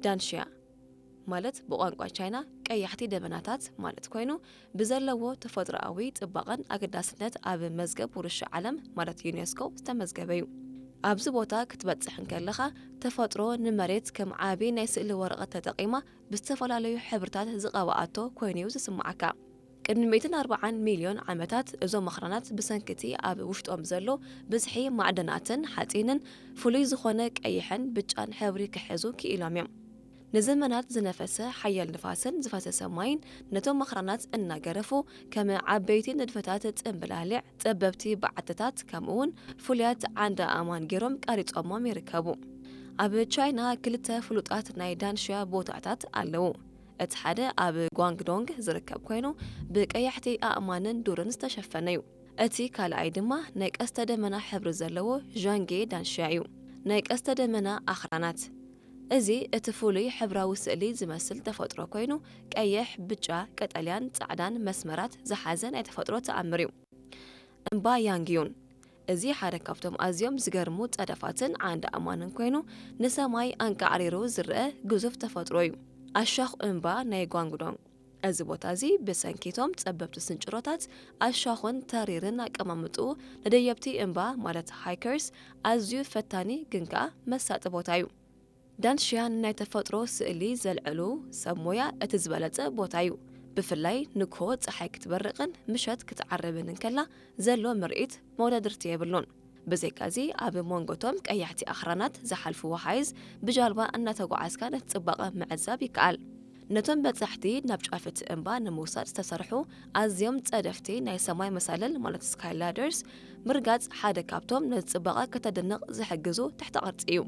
ዳንሽያ ማለት ብቋንቋ ቻይና ቀያሕቲ ደበናታት ማለት ኮይኑ፣ ብዘለዎ ተፈጥሮኣዊ ጽባቐን ኣገዳስነት ኣብ መዝገብ ውርሻ ዓለም ማለት ዩኔስኮ ዝተመዝገበ እዩ። ኣብዚ ቦታ ክትበጽሕ እንከለኻ፣ ተፈጥሮ ንመሬት ከም ዓቢ ናይ ስእሊ ወረቐት ተጠቒማ ብዝተፈላለዩ ሕብርታት ዝቐብኣቶ ኮይኑ'ዩ ዝስምዓካ። ቅድሚ ሚእትን ኣርባዓን ሚልዮን ዓመታት፣ እዞም ኣኽራናት ብሰንኪ'ቲ ኣብ ውሽጦም ዘሎ ብዝሒ ማዕደናትን ሓጺንን፣ ፍሉይ ዝኾነ ቀይሕን ብጫን ሕብሪ ክሕዙ ክኢሎም እዮም። ንዘመናት ዝነፈሰ ሓያል ንፋስን ዝፈሰሰ ማይን ነቶም ኣኽራናት እናገረፉ፣ ከም ዓበይቲ ንድፈታት ጽምብላሊዕ፣ ጸበብቲ በዓትታት፣ ከምኡ'ውን ፍሉያት ዓንዲ ኣእማን ገይሮም ቀሪጾሞም ይርከቡ። ኣብ ቻይና ክልተ ፍሉጣት ናይ ዳንሽያ ቦታታት ኣለዉ። እቲ ሓደ ኣብ ጓንግዶንግ ዝርከብ ኮይኑ፣ ብቀያሕቲ ኣእማንን ዱርን ዝተሸፈነ እዩ። እቲ ካልኣይ ድማ ናይ ቀስተ ደመና ሕብሪ ዘለዎ ዣንጌ ዳንሽያ እዩ። ናይ ቀስተ ደመና ኣኽራናት። እዚ እቲ ፍሉይ ሕብራዊ ስእሊ ዝመስል ተፈጥሮ ኮይኑ፣ ቀይሕ፣ ብጫ፣ ቀጠልያን ጻዕዳን መስመራት ዝሓዘ ናይ ተፈጥሮ ተኣምር እዩ። እምባ ያንግዩን። እዚ ሓደ ካብቶም ኣዝዮም ዝገርሙ ጸደፋትን ዓንዲ ኣእማንን ኮይኑ፣ ንሰማይ ኣንቃዕሪሩ ዝረአ ግዙፍ ተፈጥሮ እዩ። ኣሻኹ እምባ ናይ ጓንግዶንግ። እዚ ቦታ እዚ ብሰንኪቶም ጸበብቲ ስንጭሮታት ኣሻኹን ተሪርን ኣቀማምጥኡ ንደየብቲ እምባ ማለት ሃይከርስ ኣዝዩ ፈታኒ ግን ከኣ መሳጢ ቦታ እዩ። ዳንሽያን ናይ ተፈጥሮ ስእሊ ዘልዕሉ ሰብ ሞያ እቲ ዝበለጸ ቦታ እዩ። ብፍላይ ንግሆ ጸሓይ ክትበርቕን ምሸት ክትዓርብን እንከላ ዘሎ ምርኢት መወዳድርቲ የብሉን። ብዘይካዚ ኣብ መንጎቶም ቀያሕቲ ኣኽራናት ዝሓልፉ ወሓይዝ ብጃልባ እናተጓዓዝካ ነቲ ጽባቐ ምዕዛብ ይከኣል። ነቶም በጻሕቲ ናብ ጫፍ እቲ እምባ ንምውሳድ ዝተሰርሑ ኣዝዮም ጸደፍቲ ናይ ሰማይ መሳልል ማለት ስካይ ላደርስ ምርጋጽ ሓደ ካብቶም ነቲ ጽባቐ ከተድንቕ ዝሕግዙ ትሕተ ቅርጺ እዩ።